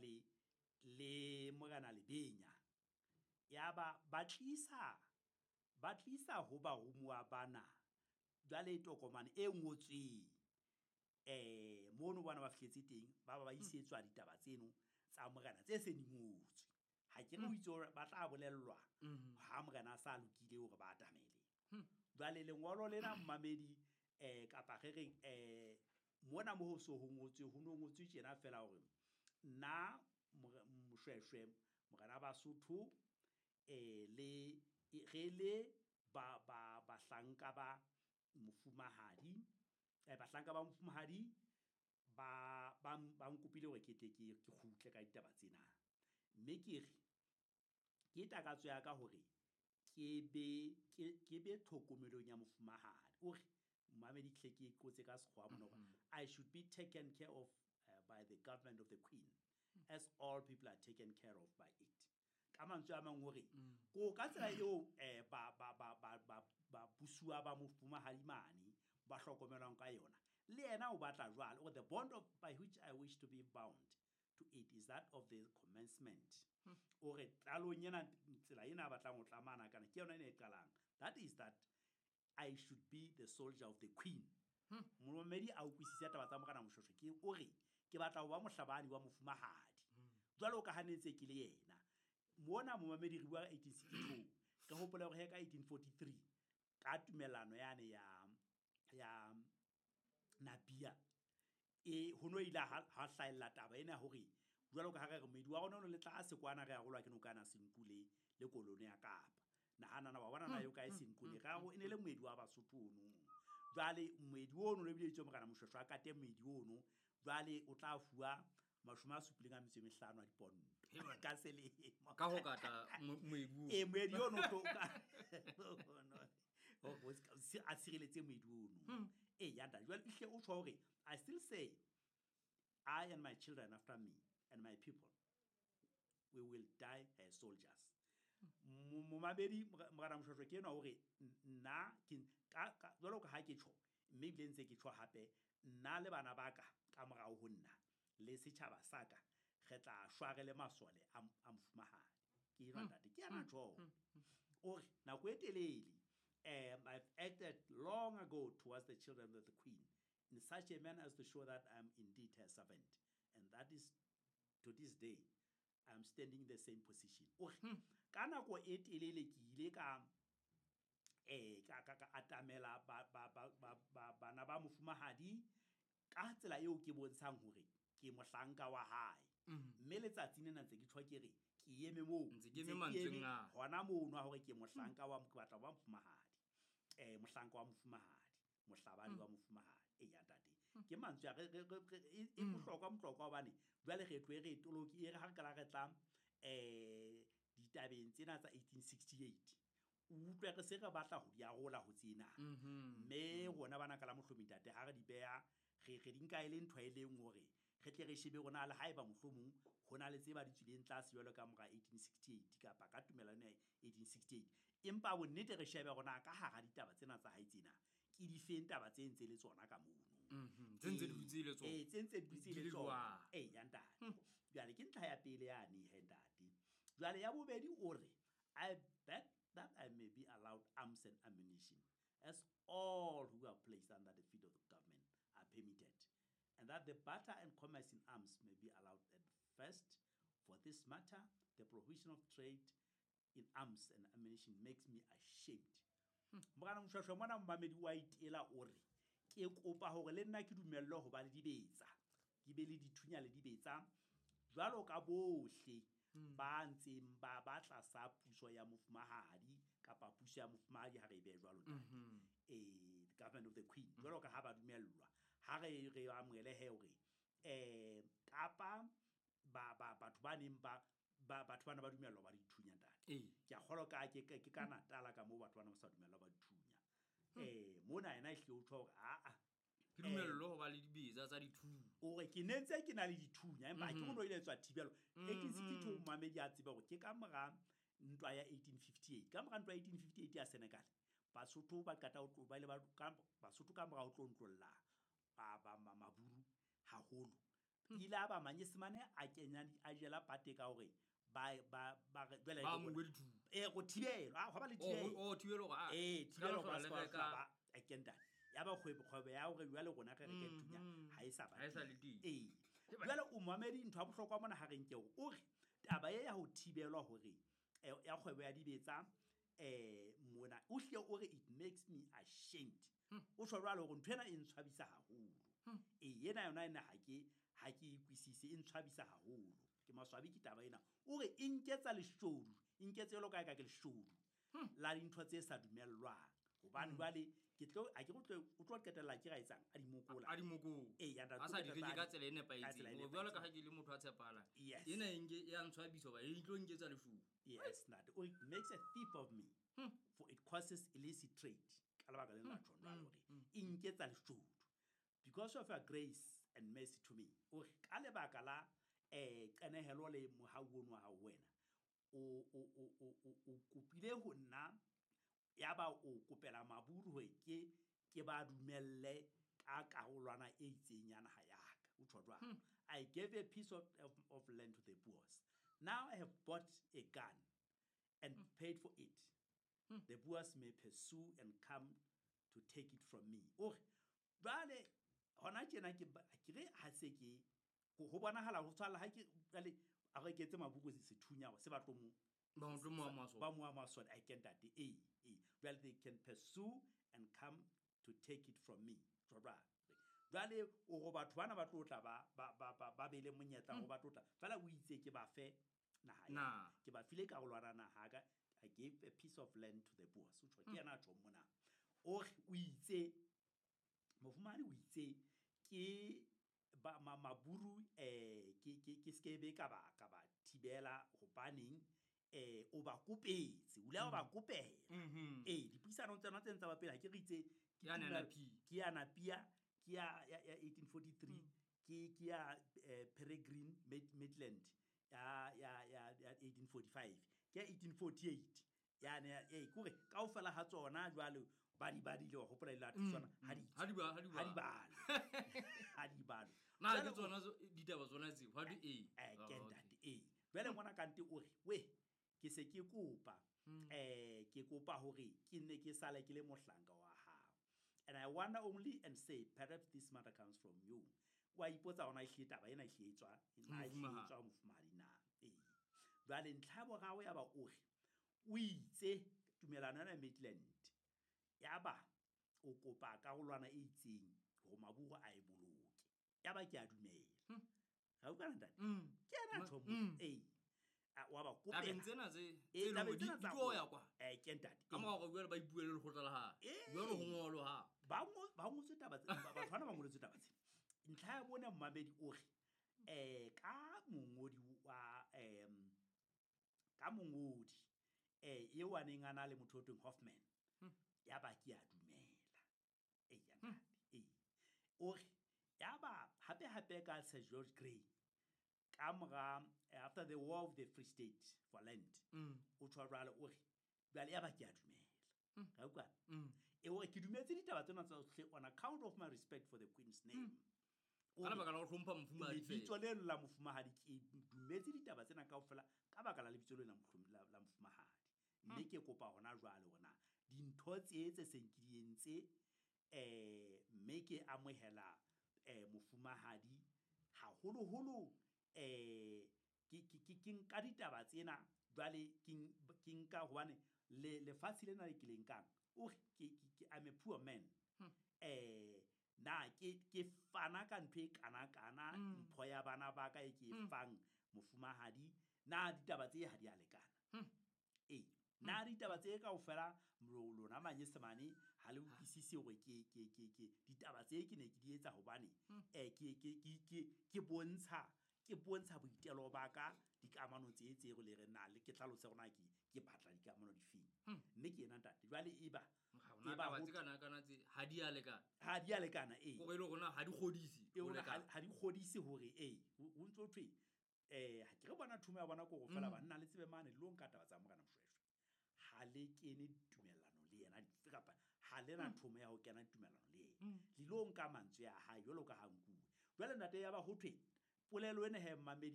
Jwale le Morena Lebenya yaba ba tlisa ho barumuwa bana jwale tokomane e ngotsweng mono bona ba fihletse teng, ba isetswa ditaba tseno tsa morena tse seng di ngotswe. Ha ke re o itse hore ba tla bolellwa ha morena a sa lokile hore ba atamele. Jwale lengolo lena, mmamedi, kapa re reng, mona mo ho so ho ngotswe, ho no ngotswe tjena fela hore nna Moshweshwe, morena Basotho, le re le ba ba bahlanka ba mofumahadi, bahlanka ba mofumahadi ba nkopile hore ke tle ke kgutle ka ditaba tsena, mme ke re ke takatso ya ka hore ke be tlhokomelong ya mofumahadi. O re, mmamedi, hle ke qotse ka sekgowa mona hore I should be taken care of by the government of the Queen as all people are taken care of by it. Ka mantswe a mang hore ko ka tsela eo ba busuwa ba mofumahadi mane ba hlokomelwang ka yona, le yena o batla jwalo. Or the bond of by which I wish to be bound to it is that of the commencement. O re qalong ena, tsela ena a batlang ho tlamana kana ke yona ena e qalang, that is that I should be the soldier of the Queen. Momamedi a utlwisise taba tsa Morena Moshweshwe ke o re ke batla ho ba mohlabani wa mofumahadi jwalo ka ha ne ntse ke le yena mona. Momamedi, re bua ka 1862. Re hopole hore he ka 1843, ka tumellano yane ya Napier, e ho no ile ha hlahella taba ena ya hore jwalo ka ha re re moedi wa rona o no le tlase kwana, re arolwa ke nokana Senqu le kolone ya Kapa. Nahana wa bona na eo kae Senqu le re e ne le moedi wa Basotho ono. Jwale moedi ono le bile itse Morena Moshweshwe a kate moedi ono, jwale o tla fuwa 75 a diponto He bana. ka selemo. Ka ho kata moedi oo. E moedi ono o tlo hore a tshireletse moedi ono. E ya ntate, jwale ehlile o tjho hore I still say I and my children after me and my people, we will die as soldiers. Momamedi, Morena Moshweshwe ke enwa hore nna ke jwalo ka ha ke tjho, mme ebile ntse ke tjho hape, nna le bana ba ka ka morao ho nna le setjhaba sa ka, re tla shwa re le masole a mofumahadi. Ke enwa ntate, ke yena tjho. O re nako e telele, I've acted long ago towards the children of the Queen in such a manner as to show that I am indeed her servant, and that is to this day I am standing in the same position. O re ka nako e telele ke ile ka atamela bana ba mofumahadi ka tsela eo ke bontshang hore ke mohlanka wa hae, mme letsatsi lena ntse ke tjho ke re ke eme moo. Ntse ke eme ntse ke mantsweng eme a. Hona mono a hore ke mohlanka wa, ke batla ho ba mofumahadi, mohlanka wa mofumahadi, mohlabani wa mofumahadi. E ya ntate, ke mantswe a e bohlokwa mohlokwa hobane jwale re tlohe re toloki e re ha re kala re tla ditabeng tsena tsa 1868, o utlwe re se re batla ho di arola ho tsena, mme rona bana ka la mohlomong ntate ha re di beha, re di nka e le ntho e leng hore re tle re shebe rona le haeba mohlomong ho na le tse ba di tswileng tlase jwalo ka mora 1868 kapa ka tumellano ya 1868, empa bonnete re shebe rona ka hara ditaba tsena tsa hae tsena ke di feng taba tse ntse le tsona ka mono. Tse ntse di dutse le tsona. Ee, tse ntse di dutse Di le le tsona. jwang? Ee ya ntate, jwale ke ntlha ya pele yane he ntate. Jwale ya bobedi o re I beg that I may be allowed arms and ammunition as all who are placed under the feet of the government are permitted, and that the barter and commerce in arms may be allowed at first. For this matter, the prohibition of trade in arms and ammunition makes me ashamed. Morena Moshweshwe mona, momamedi, wa itela o re ke kopa hore le nna ke dumellwe ho ba le dibetsa, ke be le dithunya le dibetsa jwalo ka bohle ba ntseng ba tlasa puso ya mofumahadi kapa puso ya mofumahadi, ha re e behe jwalo ntate. The government of the Queen, jwalo ka ha ba dumellwa, ha re amohele he hore kapa ba batho ba neng ba batho bana ba dumellwa ba dithunya ntate. Ke a kgolwa ke ka Natala ka moo batho bana ba sa dumellwa ba dithunya. Mona yena ehlile o tjho hore aa. Ke dumellwe ho ba le dibetsa tsa dithunya. O re ke ne ntse ke na le dithunya, empa ha ke no ile tswa thibelo 1862. Momamedi a tseba hore ke ka mora ntwa ya 1858, ka mora ntwa ya 1858 ya Senegal, Basotho ba qeta ho tlo ba ile ba ka Basotho ka mora ho tlo ntlolla ba Maburu haholo. Ile a ba manyesemane a kenya a jela pate ka hore ba ba ba re jwale Ba amohuwe dithunya. Go thibelwa, a gwa ba le Oh, thibelo. oh, thibelo hore, ah, Ee, se ka thibelo hlola ba le se ka reka. hlola ba e ke ntate. Ya ba kgwebo kgwebo ya hore jwale rona re reke thunya ha e sa ba Ha e sa teng. le teng. Ee. Ke ba- Jwale o momamedi ntho ya bohlokwa mona ha re nke hore o re taba e ya ho thibelwa hore ya kgwebo ya dibetsa mona o hlile o re it makes me ashamed. O tjho jwalo hore ntho ena e ntshwabisa haholo. Ee, ena yona ena ha ke e utlwisise, e ntshwabisa haholo. Ke maswabi ke taba ena. O re e nketsa leshodu, e nketse jwalo ka ha eka ke leshodu la dintho tse sa dumellwang. Hobane jwale ke tlo a ke re o tlo qetella ke ra etsang a di mokola. A di mokola. Ee, ya ntate, A sa di o reke qetella ka a di- tsela e ka nepahetseng. tsela e Hore jwalo ka ha nepahetseng. ke le motho a tshepahalang. Yes. Ena e nke e a ntshwabisa hoba e tlo nketsa leshodu. Yes, ntate. O re, it makes a thief of me. For it causes illicit trade. Ka lebaka lena la tjho jwalo hore e nketsa leshodu. Because of your grace and mercy to me. O re ka lebaka la qenehelo le mohau ono wa hao ho wena. O kopile ho nna ya ba o kopela maburu hore ke ba dumelle ka karolwana e itseng ya naha ya ka. O tjho jwalo. I gave a piece of land to the Boers. Now I have bought a gun and paid for it. The Boers may pursue and come to take it from me. O re, jwale hona tjena ke ke re ha se ke ho bonahala ho tshwala ha ke jwale a reketse maburu sethunya hore se ba tlo mo Ba mo tlo mo ama sona. ba mo ama sona. I can that. Eh, eh. Jwale they can pursue and come to take it from me. Jwale jwale o go batho bana ba tlo tla ba be le monyetla ho ba tlo tla. Fela o itse ke ba fe naha ya ka. Naha. Ke ba file karolwana naha ka. I gave a piece of land to the Boers. O tjho ke yena a tjhong mona. O re o itse mofumahadi o itse ke ba maburu ke skebe ka ba thibela hobaneng o ba kopetse, o ile wa ba kopela. Ee, dipuisanong tsena tse ntse ba pele ha ke re itse ke Ya tumelo- Nanapia. ke ya Napia, ke ya 1843, ke ya Peregrine Maitland ya 1845, ke ya 1848 yane ya, kore kaofela ha tsona jwale ba di badile, wa hopola ile a tsona ha di Ha di ba, ha di ha di ba. balwe. Ha di balwe. Na Jwale ke o- tsona ditaba tsona tseo, ha di e. Ke Ah, ntate, ee. Jwale ngwana kante o re, we, ke se ke kopa, ke kopa hore ke nne ke sale ke le mohlanka wa hao. And I wonder only and say, perhaps this matter comes from you. Wa ipotsa hore na ehlile taba ena ehlile e tswa, na ehlile e Mofumahadi. tswa ho mofumahadi na. Ee. Jwale ntlha ya boraro ya ba o re, o itse tumelano ena ya Maitland, ya ba o kopa karolwana e itseng hore maburu a e boloke. Ya ba ke a dumela. Ga utlwana ntate? Ke yena ntho mo. Ee. A, wa ba kopela. Tabeng tsena tse Ee, tse leng tabeng hore tsena di tsa tlo rona. ya kwa. Ke ntate. Ka mora hore jwale ba ipuele lekgotla la hae. Ee. Jwale ho ngolwe ha. Ba ba ngotswe taba tse, batho bana ba ngoletswe taba tsena. Ntlha ya bone mmamedi o re, ka mongodi wa, ka mongodi, eo a neng a na le motho o tweng Hoffman. Ya ba ke a dumela. Ee, ya ntate, ee. O re, ya ba hape hape ka Sir George Grey, ka mora, after the war of the Free State for land, o tjho jwale o re, jwale ya ba ke a dumela. Ga utlwa? E o re, ke dumetse ditaba tsena tsohle on account of my respect for the Queen's name. O Ka re, lebaka la ho hlompha mofumahadi fela. lebitso leno la mofumahadi, ke dumetse ditaba tsena kaofela ka baka la lebitso lena la mofumahadi. Mme ke kopa hona jwale hore na dintho tse tse seng ke di entse, mme ke amohela, mofumahadi haholoholo, ke nka ditaba tsena jwale ke nka hobane lefatshe lena le ke le nkang, o re, I'm a poor man. Na ke fana ka ntho e kana-kana, mpho ya bana ba ka e ke e fang mofumahadi, na ditaba tse ha di a lekana? Ee, na ditaba tse kaofela lona manyesemane ha le utlwisise hore ke ditaba tse ke ne ke di etsa hobane, ke bontsha boitelo ba ka dikamano tse tse re le re na le ke tlhalose hore na ke batla dikamano difeng. Mme ke yena ntate. Jwale e ba Ha hona e ba taba ho tse kana-kana tse ha di a lekana. Ha di a lekana, ee. Hore e le hore na ha di kgodise E ho hore lekana. ha di kgodise hore, ee, ho ntso thwe, ha ke re bona thumo ya bona ke hore feela banna le tsebe mane le lo nka taba tsa Morena Moshoeshoe. Ha le kene tumellanong le yena dife kapa ha le na thomo ya ho kena tumellanong le yena. Le lo nka mantswe a hae jwalo ka ha nkuwe. Jwale ntate ya ba ho thwe Polelo ena he mmamedi.